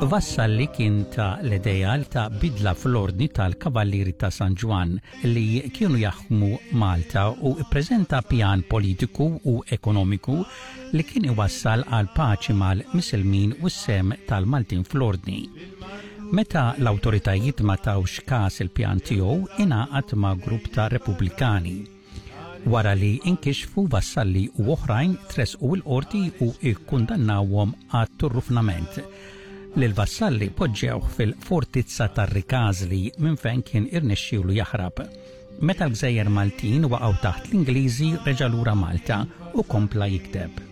Vassalli kien ta l-idea ta' bidla fl-ordni tal-Kavallieri ta' San Ġwann li kienu jaħkmu Malta u ppreżenta pjan politiku u ekonomiku li kien iwassal għal paċi mal-Misilmin u s-sehem tal-Maltin fl-ordni. Meta l-awtoritajiet ma tawx kas il-pjan tiegħu, ingħaqad ma' grupp ta' Repubblikani. Wara li inkixfu Vassalli u oħrajn tressqu l-qorti u ikkundannawhom għat-turrufnament. Lil Vassalli poġġewh fil-fortizza tar-Rikażli minn fejn kien irnexxielu jaħrab. Meta l-gżejjer Maltin waqgħu taħt l-Ingliżi reġa' lura Malta u kompla jikteb.